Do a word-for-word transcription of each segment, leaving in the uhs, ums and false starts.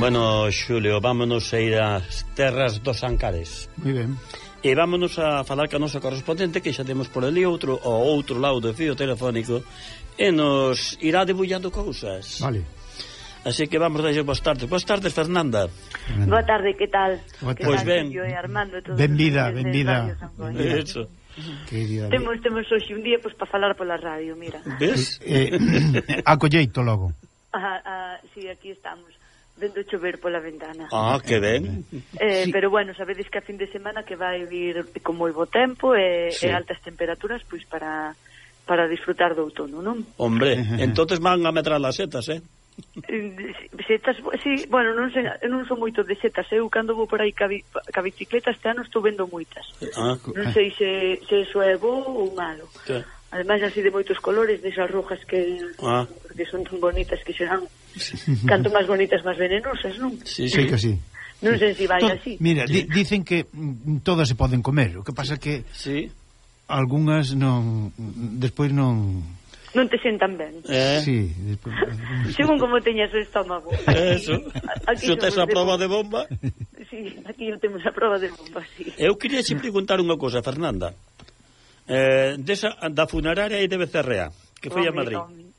Bueno, Xulio, vámonos a ir ás terras dos Ancares. Moi ben. E vámonos a falar ca nosa correspondente, que xa temos por ali outro, ao outro lado do fío telefónico, e nos irá debullando cousas. Vale. Así que vamos a dar boas tardes. Boas tardes, Fernanda. Fernanda. Boa tarde, que tal? Pois ben. Benvida, benvida. Eso. Temos, temos hoxe un día pois, para falar pola radio, mira. Ves? Eh, a colleito logo. Ah, ah, sí, aquí estamos. Vendo chover pola ventana. Ah, que ben. Eh, sí. Pero bueno, sabedes que a fin de semana que vai vir con moi bo tempo e, sí. e altas temperaturas pois para para disfrutar do outono, non? Hombre, entonces van a medrar as setas, eh? Setas, sí, bueno, non sei, non son moito de setas, eu cando vou por aí ca, ca bicicleta este ano estou vendo moitas. Ah. Non sei se, se eso é bo ou malo. Que? Ademais así de moitos colores, desas rojas que ah. porque son tan bonitas que serán canto máis bonitas máis venenosas, non? Sí, sí, que sí. Non sei se vai Todo, así. Mira, di, dicen que mm, todas se poden comer, o que pasa que sí. algunhas non despois non non te sentan ben. Eh? Sí, despois según como teñas o estómago. Eso. Xo tes a prova de bomba? Sí, aquí temos a prova de bomba, sí. Eu queria xe preguntar unha cousa, Fernanda. Eh, desa, da funeraria aí de Becerrea, que foi a Madrid. Home,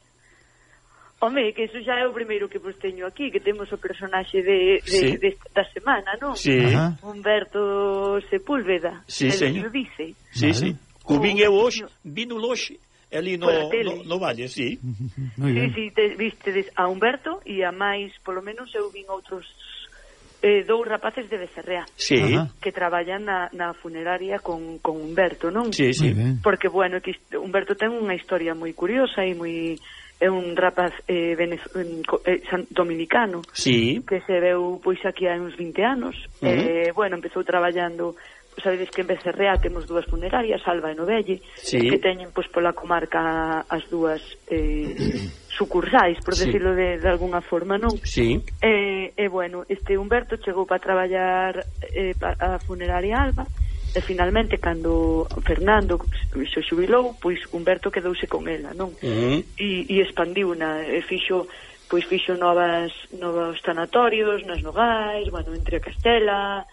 home, que eso xa é o primeiro que vos teño aquí, que temos o personaxe de, de, sí. de, da semana, non? Sí. Ajá. Humberto Sepúlveda. Sí, señor. Dice. Sí, vale. sí. Cubín eu hoxe, vino loxe, ali no, no, no Valle, sí. Muy sí, bien. sí, te, vistedes a Humberto e a máis, polo menos eu vin outros eh, dous rapaces de Becerrea, sí. que traballan na, na funeraria con, con Humberto, non? Sí, sí. Porque, bueno, que Humberto ten unha historia moi curiosa e moi... é un rapaz eh, venez, eh, dominicano, sí. que se veu pois aquí hai uns vinte anos. Uh -huh. eh, bueno, empezou traballando, sabedes que en Becerrea temos dúas funerarias, Alba e Novelle, sí. que teñen pois pola comarca as dúas eh, sucursais, por sí. decirlo de, de alguna forma, non? Sí. E, eh, bueno, este Humberto chegou para traballar eh, a funeraria Alba, e finalmente cando Fernando se xubilou, pois Humberto quedouse con ela, non? Uh -huh. E, e expandiu-na, e fixo pois fixo novas novos sanatorios nas Nogais, bueno, entre a Castela,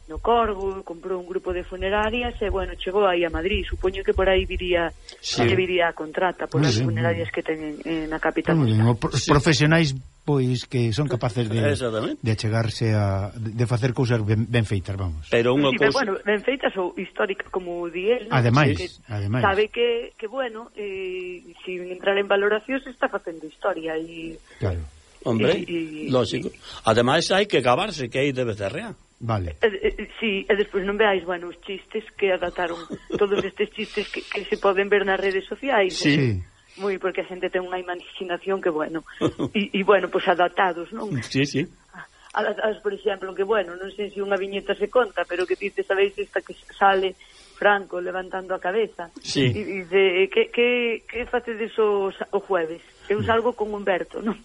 no Corgo, comprou un grupo de funerarias e, bueno, chegou aí a Madrid. Supoño que por aí viría sí. que viría a contrata por as funerarias que ten en, en a capital. Pro sí. Profesionais, pois, que son capaces de, de achegarse a... de facer cousas ben, ben feitas, vamos. Pero unha sí, cousa... bueno, ben feitas ou históricas, como di él, ¿no? Ademais, que ademais. Sabe que, que bueno, eh, sin entrar en valoracións, está facendo historia e... Claro. Hombre, y, y, lógico. Ademais, hai que gabarse que hai de Becerrea. Vale. Eh, eh, sí, e despois non veáis, bueno, os chistes que adaptaron, todos estes chistes que, que se poden ver nas redes sociais. Sí. sí. Moi, porque a xente ten unha imaginación que, bueno, e, e bueno, pois pues, adaptados, non? Sí, sí. Adaptados, por exemplo, que, bueno, non sei se unha viñeta se conta, pero que dice, sabéis, esta que sale Franco levantando a cabeza. Sí. E dice, que, que, que facedes os, o jueves? Eu salgo con Humberto, non?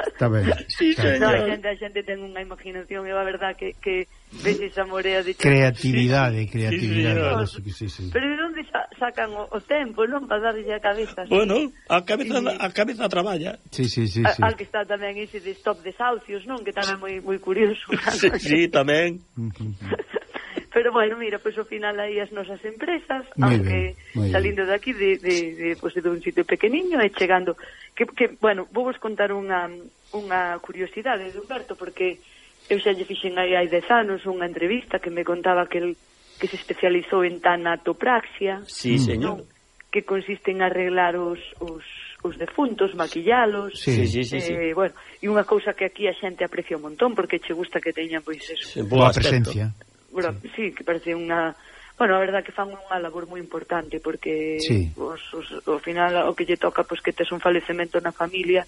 Está ben. Sí, no, a xente, a xente ten unha imaginación, e a verdad que, que ves esa morea de... Creatividade, sí. creatividade. Sí, sí, sí. Pero de onde sa sacan o, o tempo, non? Para darlle a cabeza. Bueno, a cabeza, sí. a cabeza traballa. Sí, sí, sí. sí. Al que está tamén ese de Stop Desahucios, non? Que tamén moi moi curioso. Sí, sí, tamén. Pero bueno, mira, pois pues, ao final aí as nosas empresas, muy aunque bien, salindo de aquí de, de, de, pues, de un sitio pequeniño e chegando, que, que bueno, vou vos contar unha, unha curiosidade de Humberto, porque eu xa lle fixen aí hai dez anos unha entrevista que me contaba que el que se especializou en tanatopraxia, sí, señor, ¿no? Que consiste en arreglar os, os, os defuntos, maquillalos, sí, sí, sí, sí. Eh, bueno, e unha cousa que aquí a xente aprecia un montón porque che gusta que teñan pois eso. Boa presencia. Bueno, sí. sí, que parece unha... Bueno, a verdad que fan unha labor moi importante porque sí. os, os, ao final o que lle toca pois que tes un falecemento na familia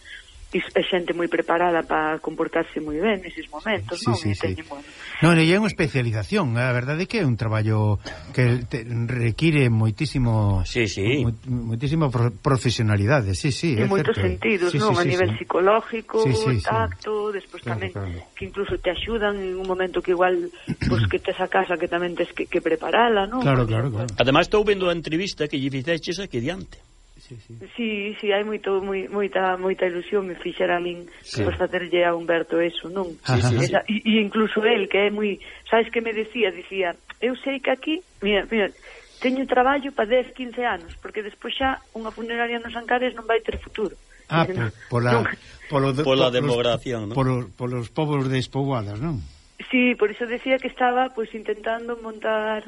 e é xente moi preparada para comportarse moi ben neses momentos, sí, non? Sí, sí. Teñen, bueno. Non, e é unha especialización, a verdade é que é un traballo que te require moitísimo sí, sí. Mo, moitísima pro, profesionalidade, sí, sí, en é moitos certo. sentidos, sí, non? Sí, a sí, nivel sí. psicológico, sí, sí, tacto, sí. despois claro, tamén claro. que incluso te axudan en un momento que igual pues, que tes a casa que tamén tes que, que preparala, non? Claro, claro, claro. Ademais estou vendo a entrevista que lle fixeches aquí diante. Sí, sí. Sí, sí, hai moito moi, moita moita ilusión me fixera a min sí. Por facerlle a Humberto eso, non? Sí, sí, Esa, sí. E, e incluso el, que é moi... Sabes que me decía? Dicía, eu sei que aquí, mira, mira, teño traballo para dez, quince anos, porque despois xa unha funeraria nos Ancares non vai ter futuro. Ah, por, pola, non, polo, pola demogración, non? Polos, polos povos despoboados, non? Sí, por iso decía que estaba pues intentando montar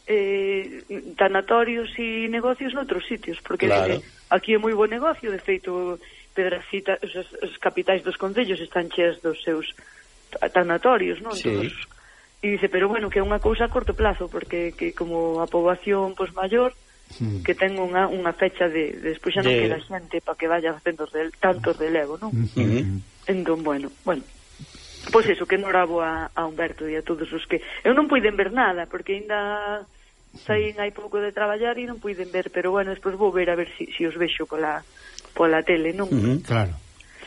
eh, tanatorios e negocios noutros sitios, porque claro. dice, aquí é moi bo negocio, de feito Pedracita, os, os capitais dos concellos están cheas dos seus tanatorios, non? Sí. Todos, e dice, pero bueno, que é unha cousa a corto plazo, porque que como a poboación pois maior, mm. que ten unha, unha fecha de, de despois xa non de... queda xente para que vaya facendo rel, tanto relevo, non? Uh -huh. Entón, bueno, bueno. Pois eso, que enhorabo a, a Humberto e a todos os que... Eu non puiden ver nada, porque ainda saín hai pouco de traballar e non puiden ver, pero bueno, despois vou ver a ver se si, si os vexo pola, pola tele, non? Uh -huh. Claro.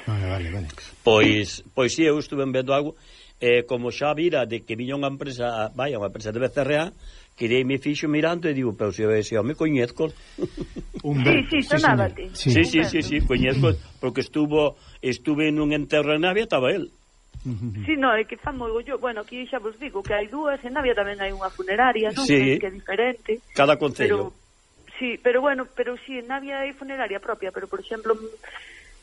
Vale, vale, vale. Pois, pois si, eu estuve vendo algo, eh, como xa vira de que viña unha empresa, vaya, unha empresa de B C R A, querei me fixo mirando e digo, pero se eu me coñezco. Humberto, sí, sí, sonábate. Sí, sí, sí, sí, sí, coñezco, porque estuvo, estuve nun enterro en Navia, estaba él. Sí, no, é que fan moi yo, bueno, aquí xa vos digo que hai dúas, en Navia tamén hai unha funeraria, non? Sí. Que é diferente. Cada concello. Pero, sí, pero bueno, pero sí, en Navia hai funeraria propia, pero por exemplo,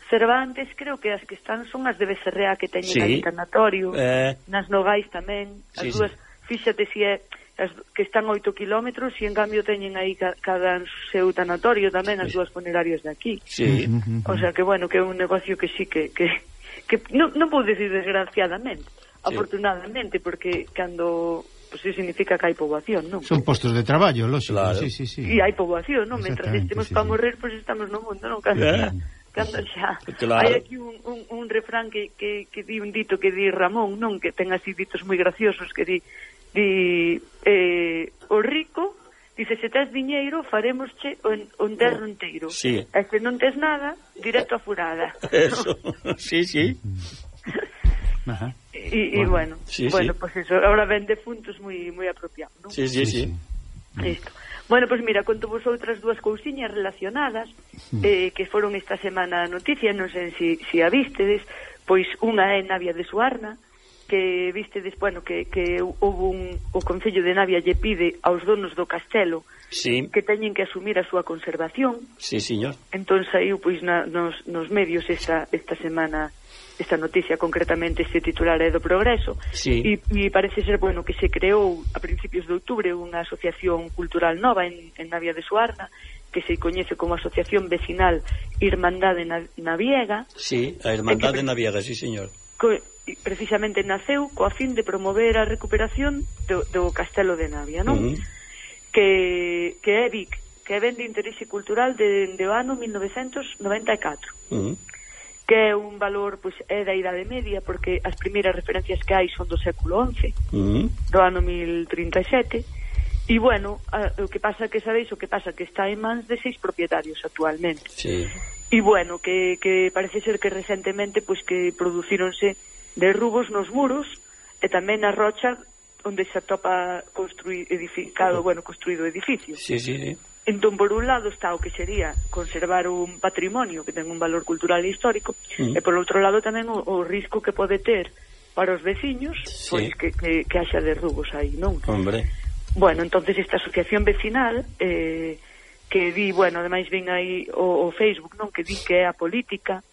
Cervantes creo que as que están son as de B C R A que teñen sí. aí tanatorio, eh... nas Nogais tamén, as sí, dúas, sí. Fíxate si é as que están oito kilómetros e en cambio teñen aí ca, cada seu tanatorio tamén as dúas funerarias de aquí. Sí. O sea que bueno, que é un negocio que sí que... que que non, non vou decir desgraciadamente, sí. Afortunadamente, porque cando pues eso significa que hai poboación, non? Son postos de traballo, lógico, claro. Sí, sí, sí. E hai poboación, non? Mentras estemos sí, para sí. morrer, pois pues estamos no mundo, non? Cando, yeah. cando xa. Claro. Hai aquí un, un, un refrán que, que, que di un dito que di Ramón, non? Que ten así ditos moi graciosos que di, di eh, o rico dice, se tes diñeiro, faremosche o, o enterro inteiro. Sí. E se non tes nada, directo a furada. Eso, sí, sí. Ajá. E, bueno, bueno, sí, bueno sí. pues eso, ahora ven defuntos moi moi apropiado, non? Sí, sí, sí. Isto. Bueno, pois pues mira, conto vos outras dúas cousiñas relacionadas mm. eh, que foron esta semana noticia, non sei se si, si a vistedes, pois unha é Navia de Suarna, que vistedes, bueno, que, que houve un, o Concello de Navia lle pide aos donos do castelo sí. que teñen que asumir a súa conservación. Sí, señor. Entón saiu pois na, nos, nos medios esta, esta semana esta noticia, concretamente este titular é do Progreso, sí. e, e parece ser, bueno, que se creou a principios de outubro unha asociación cultural nova en, en Navia de Suarna, que se coñece como Asociación Vecinal Irmandade Naviega. Sí, a Irmandade que, Naviega, sí, señor. Co, precisamente naceu coa fin de promover a recuperación do, do Castelo de Navia, non? Uh -huh. que, que é Vic, que é ben de interese cultural de, de o ano mil novecentos noventa e catro. Uh -huh. Que é un valor, pois, é da Idade Media, porque as primeiras referencias que hai son do século once, uh -huh. do ano mil trinta e sete, e bueno, a, o que pasa que sabeis, o que pasa que está en mans de seis propietarios actualmente. Sí. E bueno, que, que parece ser que recentemente pois que producíronse derrubos nos muros e tamén na rocha onde se atopa construí, edificado, bueno, construído edificio. Sí, sí, sí. Entón, por un lado está o que sería conservar un patrimonio que ten un valor cultural e histórico, mm. e por outro lado tamén o, o risco que pode ter para os veciños, sí. pois que, que, que haxa derrubos aí, non? Hombre. Bueno, entonces esta asociación vecinal eh, que di, bueno, ademais ven aí o, o Facebook, non, que di que é a política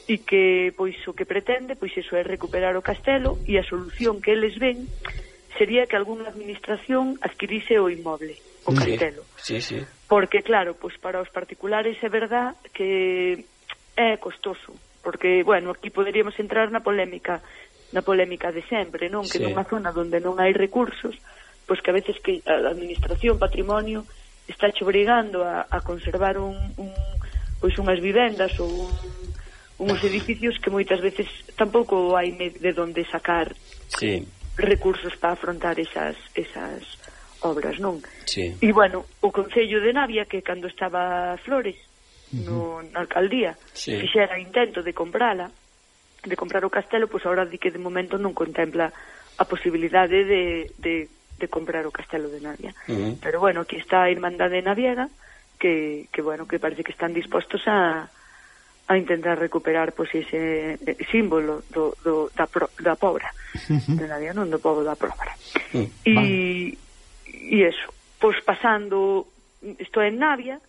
e que, pois, o que pretende, pois, eso é recuperar o castelo, e a solución que eles ven sería que algunha administración adquirise o inmoble. o castelo. Sí, sí. Porque, claro, pois para os particulares é verdad que é costoso, porque, bueno, aquí poderíamos entrar na polémica na polémica de sempre, non? Que sí. Nunha zona onde non hai recursos, pois que a veces que a administración, patrimonio, está che obrigando a, a conservar un, un, pois unhas vivendas ou un, uns edificios que moitas veces tampouco hai de onde sacar sí. recursos para afrontar esas, esas obras, non? Sí. E, bueno, o Concello de Navia, que cando estaba Flores no, na alcaldía, sí. fixera intento de comprala, de comprar o castelo, pois agora di que de momento non contempla a posibilidade de, de, de comprar o castelo de Navia. Uh -huh. Pero, bueno, aquí está a Irmandade Naviega, que, que, bueno, que parece que están dispostos a a intentar recuperar pois ese eh, símbolo do, do, da, pro, da pobra uh -huh. de Navia, non do pobo da pobra. Uh -huh. E e eso, pois pasando isto en Navia,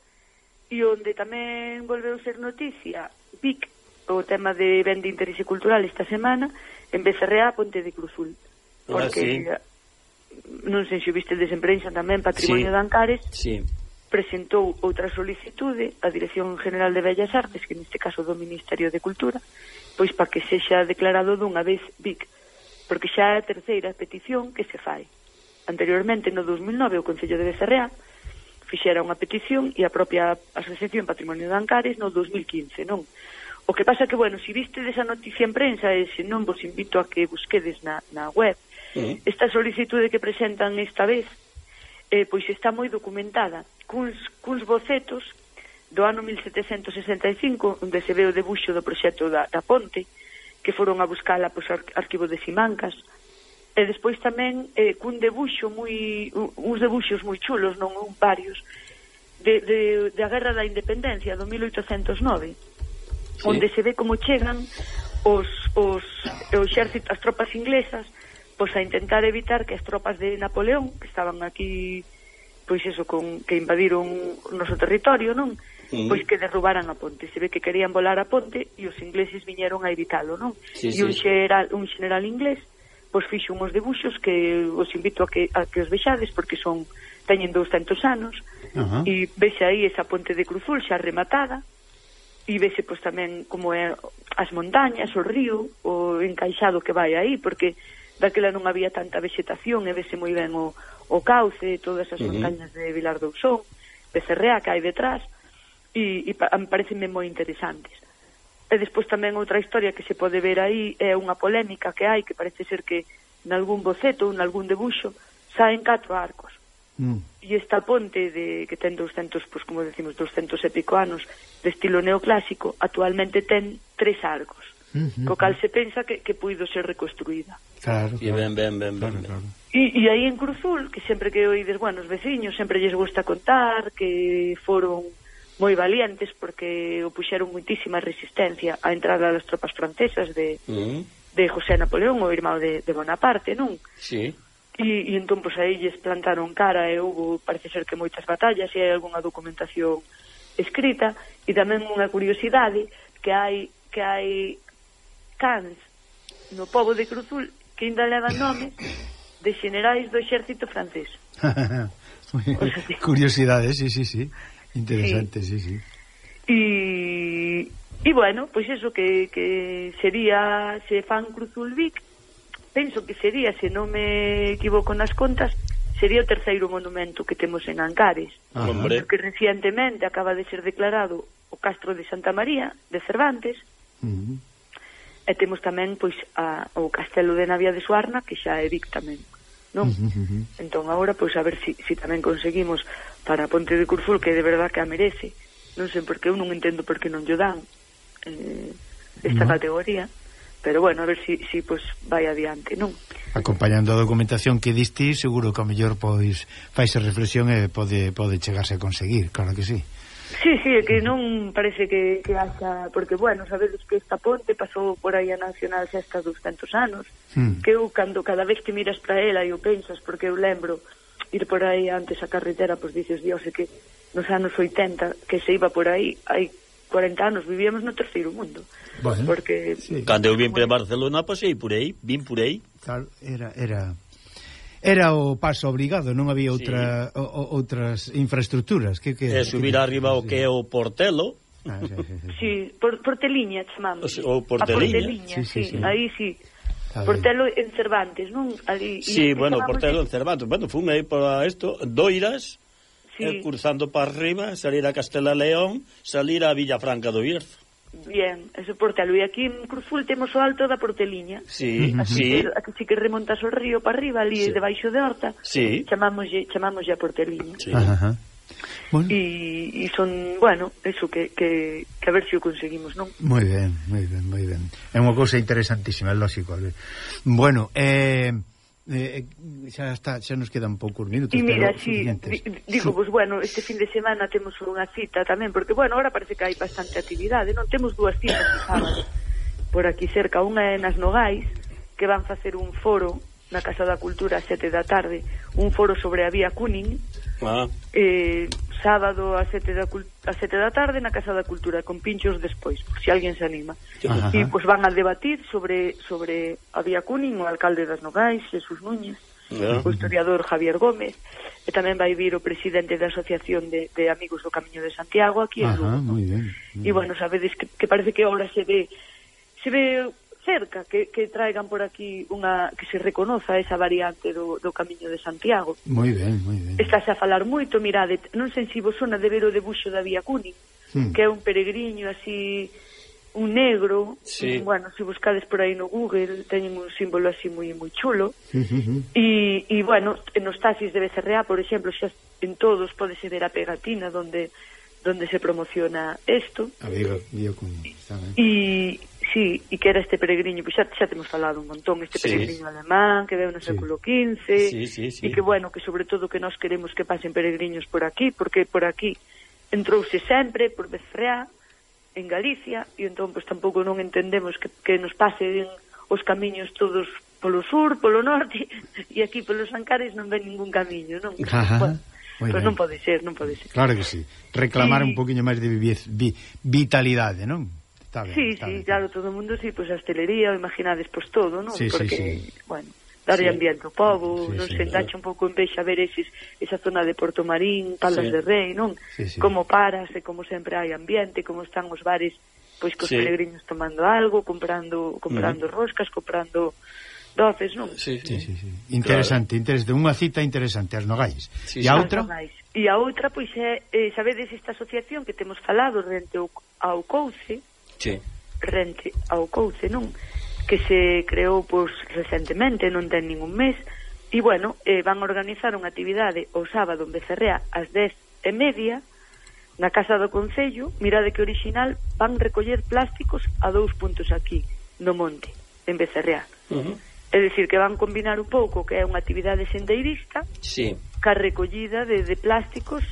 e onde tamén volveu ser noticia Vic, o tema de ben de interese cultural esta semana, en Becerrea, Ponte de Cruzul, porque ah, sí. non sei se viste en prensa tamén Patrimonio sí. de Ancares sí. presentou outra solicitude á Dirección General de Bellas Artes, que neste caso do Ministerio de Cultura, pois para que sexa declarado dunha vez Vic, porque xa é a terceira petición que se fai. Anteriormente, no dos mil nove, o Concello de Becerrea fixera unha petición e a propia Asociación Patrimonio de Ancares no dos mil quince, non? O que pasa que, bueno, se viste desa noticia en prensa e se non vos invito a que busquedes na, na web, mm. esta solicitude que presentan esta vez, eh, pois está moi documentada, cuns, cuns bocetos do ano mil setecentos sesenta e cinco, onde se ve o debuxo do proxecto da, da ponte, que foron a buscala pois, ar, arquivo de Simancas, e despois tamén eh, cun debuxo moi, uns debuxos moi chulos, non un varios, de, de, de a Guerra da Independencia do mil oitocentos nove, sí. onde se ve como chegan os, os, o exército, as tropas inglesas, pois a intentar evitar que as tropas de Napoleón, que estaban aquí, pois eso, con, que invadiron o noso territorio, non? Mm. Pois que derrubaran a ponte. Se ve que querían volar a ponte e os ingleses viñeron a evitalo, non? Sí, e un, sí. xeral, un general inglés pois fixo uns debuxos que os invito a que, a que os vexades, porque son teñen douscentos anos, uh -huh. e vese aí esa ponte de Cruzul xa rematada, e vese pois tamén como é as montañas, o río, o encaixado que vai aí, porque daquela non había tanta vegetación, e vese moi ben o, o cauce, todas as uh -huh. montañas de Vilar do Ousón, Becerrea que hai detrás, e, e pa, parecenme moi interesantes. E despois tamén outra historia que se pode ver aí é unha polémica que hai, que parece ser que nalgún boceto ou nalgún debuxo saen catro arcos. Mm. E esta ponte de que ten douscentos, pois como decimos, douscentos e pico anos, de estilo neoclásico, actualmente ten tres arcos. Mm-hmm. Co cal se pensa que, que puido ser reconstruída. Claro, claro. Ben, ben, ben, ben, ben. Claro. E, e aí en Cruzul, que sempre que oídes, bueno, os veciños sempre lles gusta contar que foron moi valientes porque o puxeron muitísima resistencia á entrada das tropas francesas de, uh-huh. de José Napoleón, o irmão de, de Bonaparte, non? Sí. E, e entón, pois, aí lles plantaron cara e houve, parece ser que moitas batallas e hai algunha documentación escrita, e tamén unha curiosidade que hai que hai cans no pobo de Cruzul que ainda levan nomes de xenerais do exército francés. O sea, curiosidade, sí, sí, sí. Interesante, sí, sí. sí. E, e bueno, pois pues eso que, que sería, se fan Cruzul Vic, penso que sería, se non me equivoco nas contas, sería o terceiro monumento que temos en Ancares. Ajá. Porque recientemente acaba de ser declarado o Castro de Santa María de Cervantes, uh -huh. e temos tamén pois a, o Castelo de Navia de Suarna, que xa é Vic tamén, non? Uh -huh. Entón agora pois a ver se si, si tamén conseguimos para a Ponte de Cruzul, que de verdad que a merece. Non sei por que eu non entendo por que non lle dan eh, esta no. categoría, pero bueno, a ver se si, si, pues, vai adiante, non? Acompañando a documentación que diste, seguro que a mellor pois faise reflexión e pode, pode chegarse a conseguir, claro que sí. Sí, sí, é que non parece que, que haxa, porque bueno, sabedes que esta ponte pasou por aí a Nacional xa hasta douscentos anos, hmm. que eu cando cada vez que miras para ela e o pensas, porque eu lembro ir por aí antes a carretera, pois dices, Dios, é que nos anos oitenta que se iba por aí, hai cuarenta anos, vivíamos no terceiro mundo. Bueno, porque sí. Cando eu vim para Barcelona, pasei por aí, vim por aí. Claro, era era era o paso obrigado, non había outra sí. o, o, outras infraestructuras. Que, que, e subir que, arriba o que é o Portelo. Ah, sí, sí, sí. sí por, Porteliña chamamos. O Porteliña. Sí, sí, sí, sí. Aí sí. Portelo en Cervantes, non? Ali, sí, bueno, Portelo en Cervantes. Bueno, fun aí para isto, Doiras, sí. eh, cruzando para arriba, salir a Castela León, salir a Villafranca do Bierzo. Bien, ese Portelo. E aquí en Cruzul temos o alto da Porteliña. Sí, así sí. Que, aquí sí que remontas o río para arriba, ali sí. Debaixo de Horta. Sí. Chamámoslle, chamámoslle a Porteliña. Sí. Ajá. Bueno. E, e son, bueno, eso que, que, que a ver se si o conseguimos, non? Moi ben, moi ben, moi ben. É unha cousa interesantísima, é lógico. Bueno, eh, eh, xa está, xa nos quedan poucos minutos. E mira, si, sí, digo, pues bueno, este fin de semana temos unha cita tamén, porque, bueno, ahora parece que hai bastante actividade, non? Temos dúas citas de sábado por aquí cerca, unha é nas Nogais, que van facer un foro na Casa da Cultura a sete da tarde, un foro sobre a vía Cúning, ah. eh, sábado a sete da, a sete da tarde na Casa da Cultura, con pinchos despois, por si alguén se anima. Ajá. E pois van a debatir sobre sobre a vía Cúning, o alcalde das Nogais, Jesús Núñez, yeah. O historiador Javier Gómez, e tamén vai vir o presidente da Asociación de, de Amigos do Camiño de Santiago aquí en Lugo. Moi ben. E bueno, sabedes que, que parece que ahora se ve se ve cerca que, que traigan por aquí unha que se reconoza esa variante do, do Camiño de Santiago. Moi ben, moi ben. Estás a falar moito, mirade, non sei se vos sona de ver o debuxo da vía Cúning, hmm. que é un peregriño así, un negro, sí. un, bueno, se buscades por aí no Google, teñen un símbolo así moi moi chulo, uh -huh. e, e bueno, nos taxis de Becerreá, por exemplo, xa en todos podese ver a pegatina donde donde se promociona isto. A vía Cúning, está ben. E sí, e que era este peregriño, pois xa, xa temos falado un montón, este sí. peregriño alemán que veu no sí. século quince, sí, sí, sí. e que bueno, que sobre todo que nós queremos que pasen peregriños por aquí, porque por aquí entrouse sempre por Becerreá, en Galicia, e entón pois tampouco non entendemos que, que nos pasen os camiños todos polo sur, polo norte, e aquí polos Ancares non ven ningún camiño, non? Ajá. Bueno, pois pues non pode ser, non pode ser. Claro que sí. Reclamar sí. un poquinho máis de vi, vi, vitalidade, non? Está ben, sí, está sí, ben. claro, todo o mundo, sí, pois pues, a hostelería, imaginades, pois pues, todo, non? Sí, porque, sí, sí. bueno, darlle sí. ambiente ao povo, sí, non sí, se endacha sí. un pouco en vexa ver eses, esa zona de Porto Marín, Palas sí. de Rei, non? Sí, sí. Como paras, e como sempre hai ambiente, como están os bares, pois cos sí. peregrinos tomando algo, comprando comprando uh -huh. roscas, comprando doces, non? Sí, sí, sí, sí. Interesante, claro. interesante, unha cita interesante, as Nogais. Sí, e a outra? E a outra, pois, é, eh, sabedes esta asociación que temos falado rente ao, ao Couce, sí. rente ao Couce, non? Que se creou, pois, recentemente, non ten ningún mes, e, bueno, eh, van a organizar unha actividade o sábado en Becerrea ás dez e media, na Casa do Concello. Mirade que original, van recoller plásticos a dous puntos aquí, no monte, en Becerrea. Uh -huh. É dicir, que van combinar un pouco que é unha actividade sendeirista sí. ca recollida de, de plásticos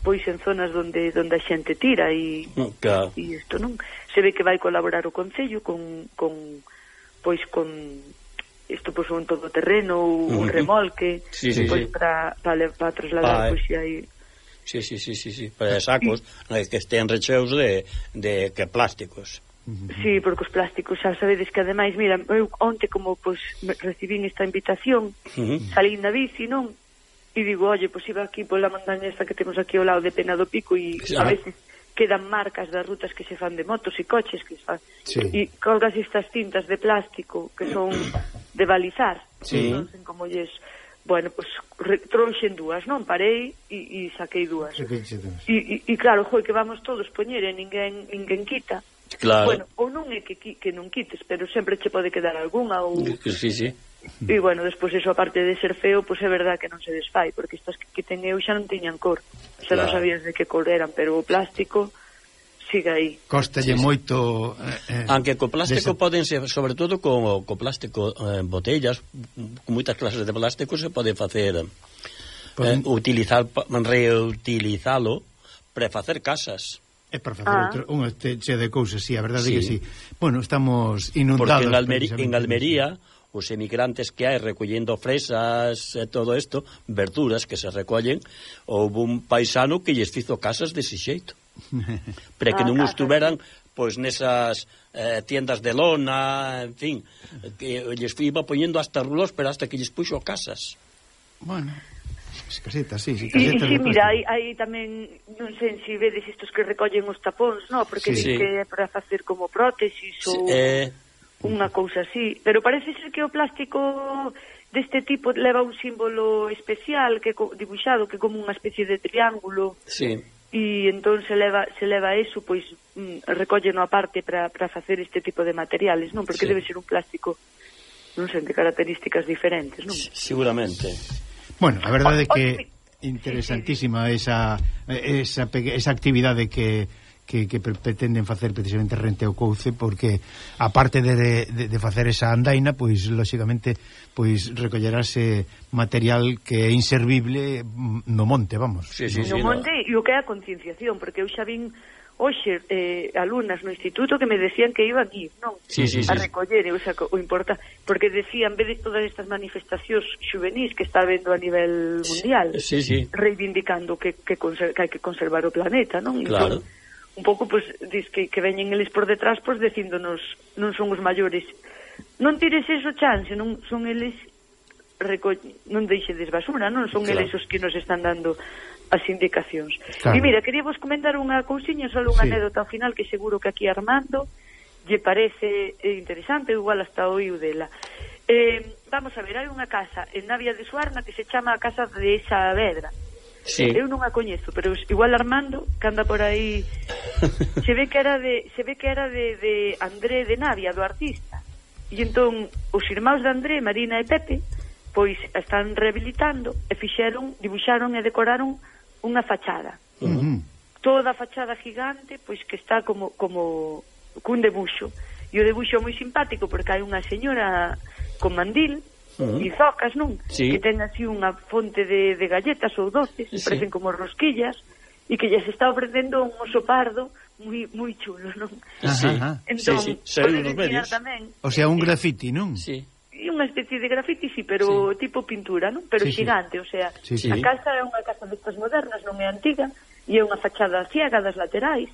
pois en zonas donde donde a xente tira e claro. e isto non se ve que vai colaborar o Concello con, con pois con isto pois un todoterreno ou uh -huh. un remolque sí, sí, pois sí. para para pa trasladar pois se hai Sí, sí, sí, sí, sí, para sacos sí. que estén recheos de, de que plásticos. Sí, porque os plásticos xa sabedes que ademais, mira, eu onte como pois recibín esta invitación, uh -huh. salí na bici, non? E digo, oye, pois iba aquí pola montaña esta que temos aquí ao lado de Pena do Pico e sí. a veces quedan marcas das rutas que se fan de motos e coches que se fan. Sí. E colgas estas cintas de plástico que son de balizar. Sí. Non sei como lles... Bueno, pois pues, trouxen dúas, non? Parei e, e saquei dúas. E, e, e claro, joi, que vamos todos poñer e ninguén, ninguén quita. Claro. Bueno, ou non é que, que non quites, pero sempre che pode quedar algunha ou... Sí, sí. E bueno, despois eso, aparte de ser feo, pois pues é verdad que non se desfai, porque estas que, que ten eu xa non tiñan cor. Xa claro. Non sabías de que cor eran, pero o plástico sigue aí. Costalle sí, sí. moito... Eh, Aunque co plástico desa... poden ser, sobre todo co, co plástico en eh, botellas, con moitas clases de plástico se pode facer, poden... eh, utilizar, reutilizalo para facer casas. É para facer ah. outro, unha che de cousas, sí, a verdade sí. que sí. Bueno, estamos Porque inundados. en Almería, en Almería os emigrantes que hai recollendo fresas e todo isto, verduras que se recollen, houve un paisano que lles fizo casas dese xeito. Para que ah, non estuveran pois nesas eh, tiendas de lona, en fin, que lles iba poñendo hasta rulos, pero hasta que lles puxo casas. Bueno, es caseta, sí, sí, E caseta. sí, mira, hai, hai tamén, non sei se vedes estos que recollen os tapóns, no? Porque Sí, sí. que é para facer como prótesis Sí, ou eh, unha cousa así. Pero parece ser que o plástico deste tipo leva un símbolo especial que co- dibuixado que é como unha especie de triángulo sí. e entón se leva se leva eso, pois mm, recolleno aparte para para facer este tipo de materiales, non? Porque Sí. debe ser un plástico non sei, de características diferentes, non? Seguramente. Bueno, a verdade é O- que o- interesantísima esa esa peque- esa actividade que que, que pre- pretenden facer precisamente rente ao Couce, porque aparte de, de, de facer esa andaina, pois lóxicamente pois recollerase material que é inservible no monte, vamos. Sí, sí, No sí, monte e o que é a concienciación, porque eu xa vin hoxe eh, alumnas no instituto que me decían que iban ir, non? Sí, sí, a sí. recoller, o sea, o importa, porque decían, en vez de todas estas manifestacións xuvenís que está vendo a nivel mundial, Sí, sí. reivindicando que, que, conser, que hai que conservar o planeta, non? Claro. Entón, un pouco, pois, dis que, que veñen eles por detrás, pois, dicíndonos, non son os maiores, non tires eso chance, non son eles, reco... non deixedes basura, non son Claro. eles os que nos están dando as indicacións. Claro. E mira, quería vos comentar unha cousiña, só unha Sí. anécdota ao final que seguro que aquí Armando lle parece eh, interesante, igual hasta oíu dela. Eh, vamos a ver, hai unha casa en Navia de Suarna que se chama a Casa de Saavedra. Sí. Eu non a coñezo, pero igual Armando, que anda por aí, se ve que era de se ve que era de, de André de Navia, do artista. E entón os irmãos de André, Marina e Pepe, pois están rehabilitando e fixeron, dibuixaron e decoraron unha fachada. Uh-huh. Toda a fachada gigante, pois que está como como cun debuxo. E o debuxo é moi simpático porque hai unha señora con mandil, Uh-huh. e zocas, non? Sí. Que ten así unha fonte de, de galletas ou doces, Sí. parecen como rosquillas, e que lles está ofrecendo un oso pardo moi moi chulo, non? Sí. Ajá. Entón, Sí, sí, saiu podes nos ensinar medios. tamén, O sea, un graffiti, non? Sí. e unha especie de grafiti, sí, pero tipo pintura, non? Pero Sí, sí. xigante, o sea, Sí, sí. a casa é unha casa destas modernas, non é antiga, e é unha fachada ciega das laterais,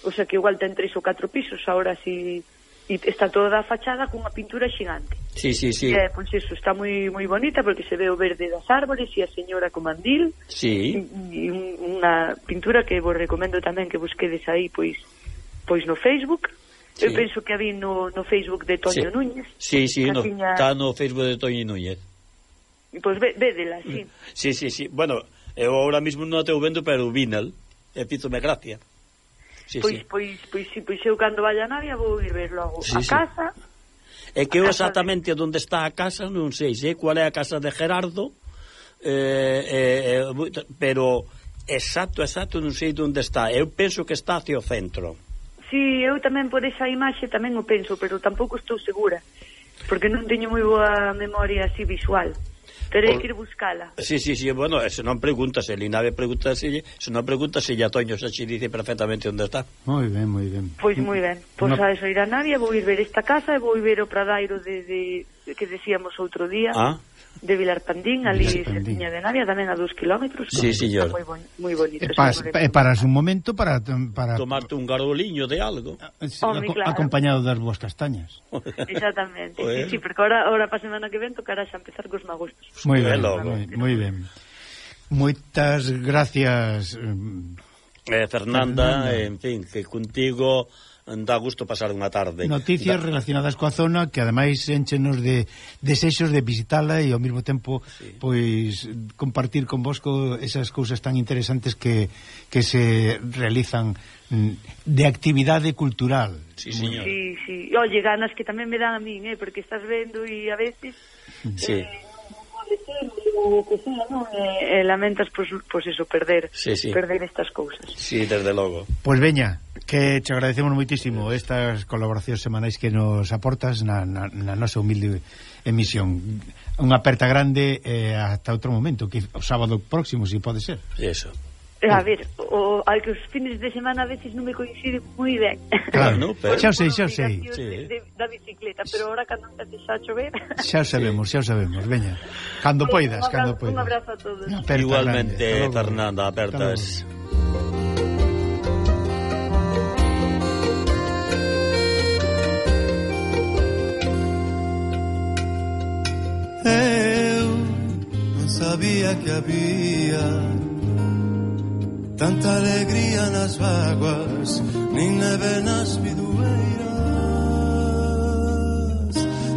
o sea que igual ten tres ou catro pisos, ahora si... E está toda a fachada cunha pintura xigante. Sí, sí, sí. E, pois iso, está moi moi bonita porque se ve o verde das árbores e a señora con mandil. Sí. E un, unha pintura que vos recomendo tamén que busquedes aí pois pois no Facebook. Sí. Eu penso que a vi no, no Facebook de Toño Sí. Núñez. Sí, sí, que no, tiña- está no Facebook de Toño Núñez. Pois ve, védela, sí. Sí, sí, sí. Bueno, eu ahora mismo non a teu vendo, pero vínal. E fízome gracia. Sí, Pois, sí. pois, pois, si, pois eu cando vaya a Navia vou ir ver logo Sí, a sí. casa. É que eu a casa exactamente onde está a casa non sei, sei cual é a casa de Gerardo, eh, eh, pero exacto, exacto non sei onde está. Eu penso que está hacia o centro. Si, eu tamén por esa imaxe tamén o penso, pero tampouco estou segura, porque non teño moi boa memoria así visual. Terei Por- que ir buscala. Sí, sí, sí, bueno, se non preguntas, el Inave pregunta se, se non preguntas se ya Toño xa xe dice perfectamente onde está. Moi ben, moi ben. Pois moi ben. Pois Unha- a eso ir a Navia, vou ir ver esta casa e vou ir ver o pradairo de, de, de que decíamos outro día. Ah, De Vilar Pandín, ali Vilarpandín. cerquiña de Navia, tamén a dos kilómetros. Sí, señor. Moi, bon, moi bonito. E, ese pas, lugar. e paras un momento para para tomarte un garoliño de algo. Home, aco- claro. acompañado das boas castañas. Exactamente. Bueno. Sí, sí, porque ahora, ahora para a semana que ven tocará xa empezar cos magostos. Moi É ben, logo. moi, moi ben. Moitas gracias. eh, Eh, Fernanda, Fernanda. en fin, que contigo dá gusto pasar unha tarde. Noticias Da- relacionadas coa zona que ademais enchenos de desexos de visitala e ao mesmo tempo Sí. pois compartir con vos co esas cousas tan interesantes que, que se realizan mm, de actividade cultural. Sí, señor. Sí, sí. E, oye, ganas que tamén me dan a min, eh, porque estás vendo e a veces Sí. eh, non pode ser o que sea, non? E, e lamentas, pois, pois eso, perder Sí, sí. perder estas cousas. Sí, desde logo. Pois veña, que te agradecemos moitísimo estas colaboracións semanais que nos aportas na, na, na nosa humilde emisión. Unha aperta grande eh, hasta outro momento, que o sábado próximo, se si pode ser. Eso. E, a ver, o, hai que os fines de semana a veces non me coinciden moi ben. Claro, Bueno, pero- xa o sei, xa o sei. Obligacións Sí. de, de, da bicicleta, pero ahora cando empece xa a chover. Xa o sabemos, xa o sabemos, veña. Cando poidas, Un cando abrazo- poidas. Un abrazo a todos. Una aperta Igualmente, grande. Hasta logo. Fernanda, apertas. Eu non sabía que había tanta alegría nas vaguas, nin neve nas bidueiras.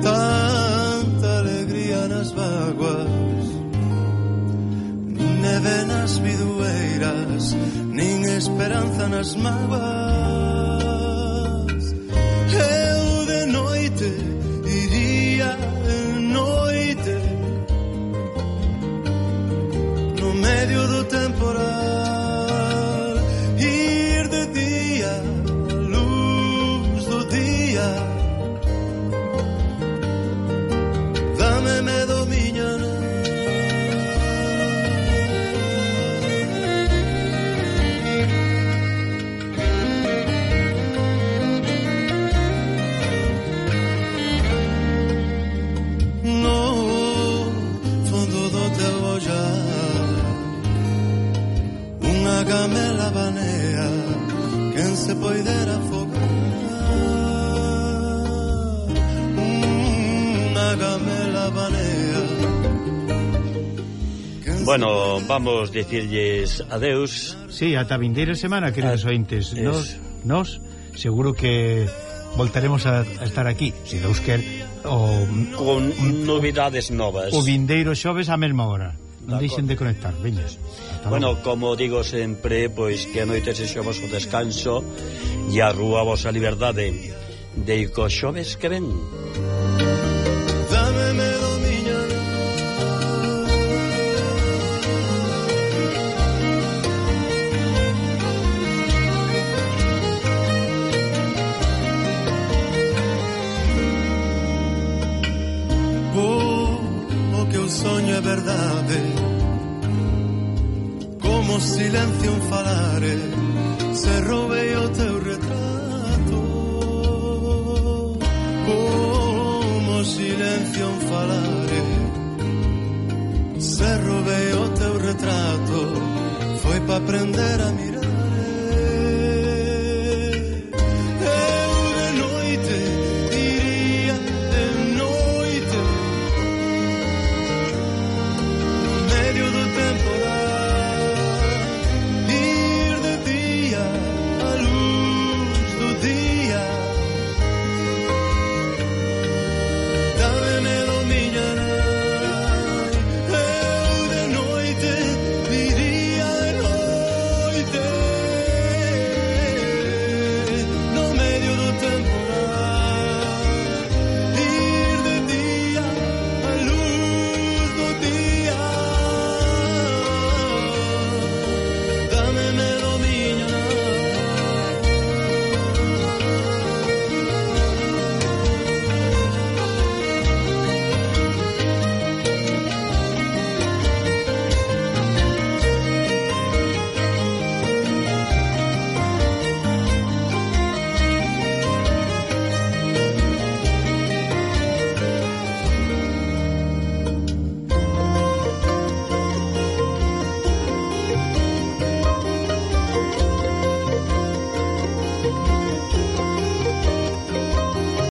Tanta alegría nas vaguas, nin neve nas bidueiras, nin esperanza nas mágoas. Eu de noite iría de noite no medio do temporal, ir de día a luz do día. Dame medo miña no fondo do teu ollar, unha gamela banea, quen se poidera afogar. Unha gamela banea. Bueno, vamos dicirlles adeus. Sí, ata a vindeira semana, queridos Ah, ointes. es. Nos, nos, seguro que voltaremos a, a estar aquí, se Deus quer, o, Con novidades novas. o vindeiro xoves á mesma hora. Non De deixen de conectar, veñas. Bueno, como digo sempre, pois que a noite sexa o vosso descanso e a rúa a vosa liberdade. Deico xoves que ven. Dame medo miña oh, o que eu soño é verdade, como silencio un falare, se roubei o teu retrato. Como silencio un falare, se roubei